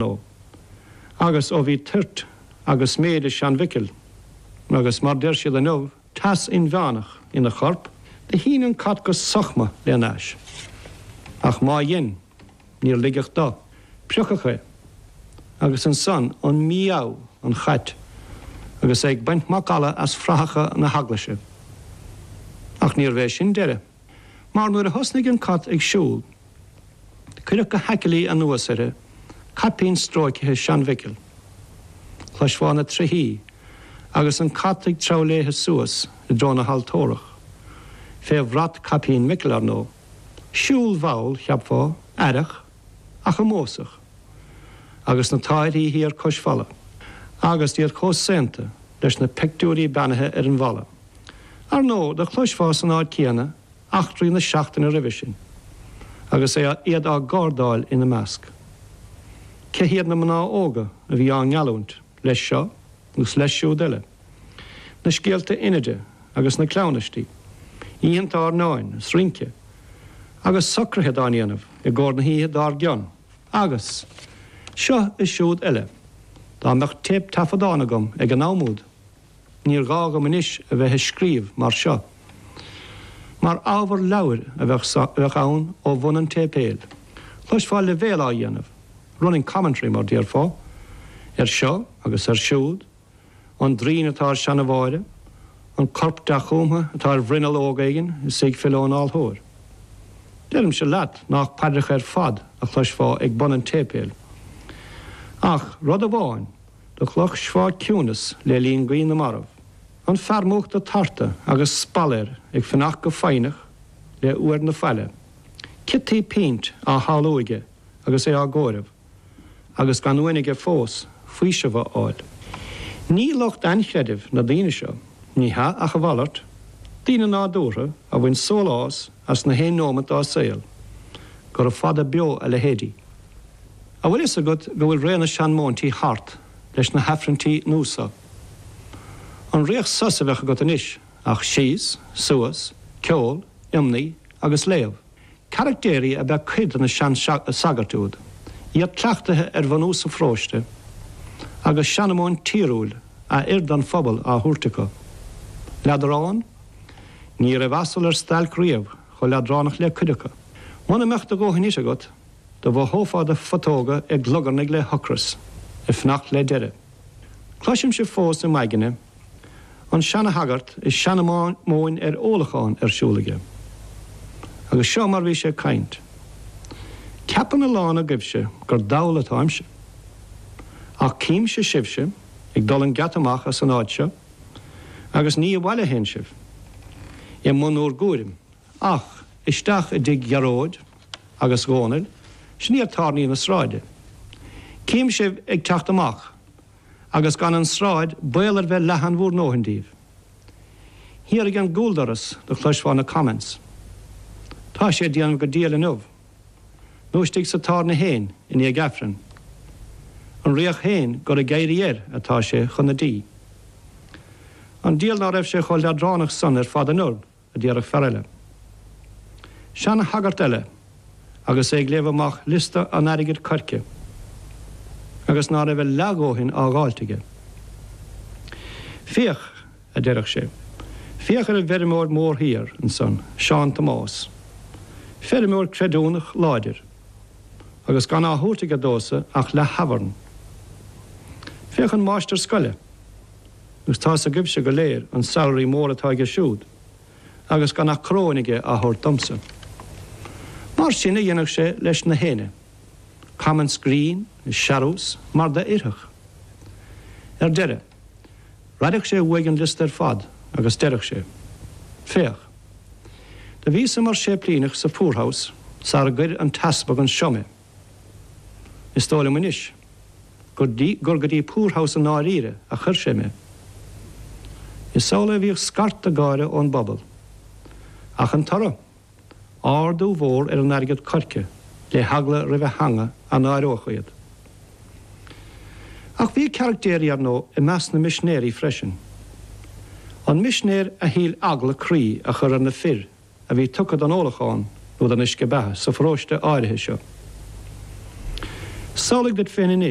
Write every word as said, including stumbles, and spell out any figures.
ndóigh, agus ó bhí toirt agus méid i sean-Mhicil, agus mar deir siad inniu, teas inmheánach ina chorp, do shín an cat go sochma lena ais. Ach má dhein, níor ligeadh dó. Priocadh é. Agus ansan an mí-ádh an chait agus é ag baint macalla as frathacha na heaglaise. Ach níorbh é sin deireadh. Mar nuair a thosnaigh an cat ag siúl, cuireadh go haicilí anuas uirthi caipín stróicthe sean-Mhicil. Chloisfeá na trithí agus an cat ag treabhadh léithe suas i dtreo na haltórach, fé bhrat caipín Mhicil, ar ndóigh. Siúl mhall, cheapfá, aireach, ach ómósach, agus na táithrí thiar cois falla, agus iad chomh saonta leis na peictiúirí beannaithe ar an bhfalla. Ar ndóigh, do chloisfeá san áit chéanna eachtraí na seachtaine roimhe sin, agus iad á gcardáil ina measc. Cé hiad na mná óga a bhí á ngeallúint leis seo agus leis siúd eile? Na scéalta Inide agus na cleamhnaistí, oícheanta airneáin is rince, agus socruithe dá ndéanamh i gcomhair na hoíche dár gcionn, agus seo is siúd eile. Dá mbeadh téip-taifeadán agam ag an am úd, níor ghá dhom anois a bheith ag scríobh mar seo, mar ábhar leabhair a bheadh ann ó bhun an tséipéil. Chloisfeá leibhéal á dhéanamh, running commentary mar déarfá, ar seo agus ar siúd, an droim atá ar seana-Mháire, an corp dea-chúmtha atá ar bhruinneall óg éigin is í ag filleadh ón altóir. Deirimse leat nách paidreacha ar fad a chloisfeá ag bun an tséipéil. Ach rud amháin, do chloisfeá ciúnas le linn guí na marbh. An fear múchta tarta agus spalla air ag fanacht go foighneach le uair na faille. Ciotaí pínt á shamhlú aige agus é á gcomhaireamh, agus gan uain aige fós faoiseamh a fháil. Ní lucht ainchreidimh na daoine seo, ní hea ach a mhalairt, daoine nádúrtha a bhain sólás as na haon nóimeat dá saol. Gura fada beo a leithéidí. An bhfuil fhios agat go bhfuil ré na seanmóintí thart leis na hAifrinntí nua so? An ritheadh sos a bheadh agat anois ach síos, suas, ceol, iomnaí agus léamh. Caractéirí ab ea cuid de na sean-sagairt úd, iad cleachtaithe ar bhunús an pharóiste, agus seanmóin tíriúil a oir don phobal á thabhairt acu. Leadrán? Ní raibh asal ar stailc riamh chomh leadránach le cuid acu. Muna mbeadh do dhóthain ite agat, do mhothófá do phutóga ag glugarnaigh le hocras, ag fanacht le deireadh. Cloisimse fós i m'aigne an seanashagart is seanmóin ar ólachán ar siúl aige. Agus seo mar bhí sé ag caint. Ceapann a lán agaibhse gur dall atáimse. Ach címse sibhse ag dul an geata amach as an áit seo, agus ní abhaile a théann sibh, i mbun bhur gcúraim, ach isteach i dtigh Ghearóid agus Dhónaill, sin iad tábhairní na sráide. Cím sibh ag teacht amach, agus gan an tsráid baol ar bheith leathan bhur ndóthain díbh. Thiar ag an gcúldoras do chloisfeá na comments. Tá sé ag déanamh go diail inniu. Nó istigh sa tábhairne féin i ndiaidh Aifrinn. An ritheadh féin gur ag éirí air atá sé chun na dí. An diabhal ná raibh sé chomh leadránach san ar fad anuraidh, a déarfadh fear eile. Seanashagart eile agus é ag léamh amach liosta an airgid coirce agus ná raibh a leathdhóthain á dháilt aige. Féach, a deireadh sé, féach ar an bhfeirmeoir mór thiar ansan, Seán Tomás. Feirmeoir creidiúnach láidir, agus gan á thabhairt aige domhsa ach leath-thabharn. Féach an máistir scoile, agus tá's agaibhse go léir an salary mór atá aige siúd, agus gan ach coróin aige á thabhairt domsa. Mar sin a dhéanadh sé leis na héinne. Comments grinn is searús mar d'oirfeadh. Ar deireadh, raideadh sé uaidh an liosta ar fad agus deireadh sé, Féach. Do bhíos-sa mar séiplíneach sa Poorhouse sara gcuir an t-easpag anseo mé. Is dóigh liom anois gur gur go dtí Poorhouse i ndáiríre a chuir sé mé. Is amhlaidh a bhíodh scairteadh gáire ón bpobal. Ach an toradh? Ardú mhór ar an airgead coirce le heagla roimh a theanga a náireodh iad. Ach bhí caractéirí, ar ndóigh, i measc na misinéirí freisin. An misinéir a shíl eagla croí a chur ar na fir a bhí tugtha don ólachán nó don uisce beatha sa pharóiste áirithe seo. Samhlaigh duit féin anois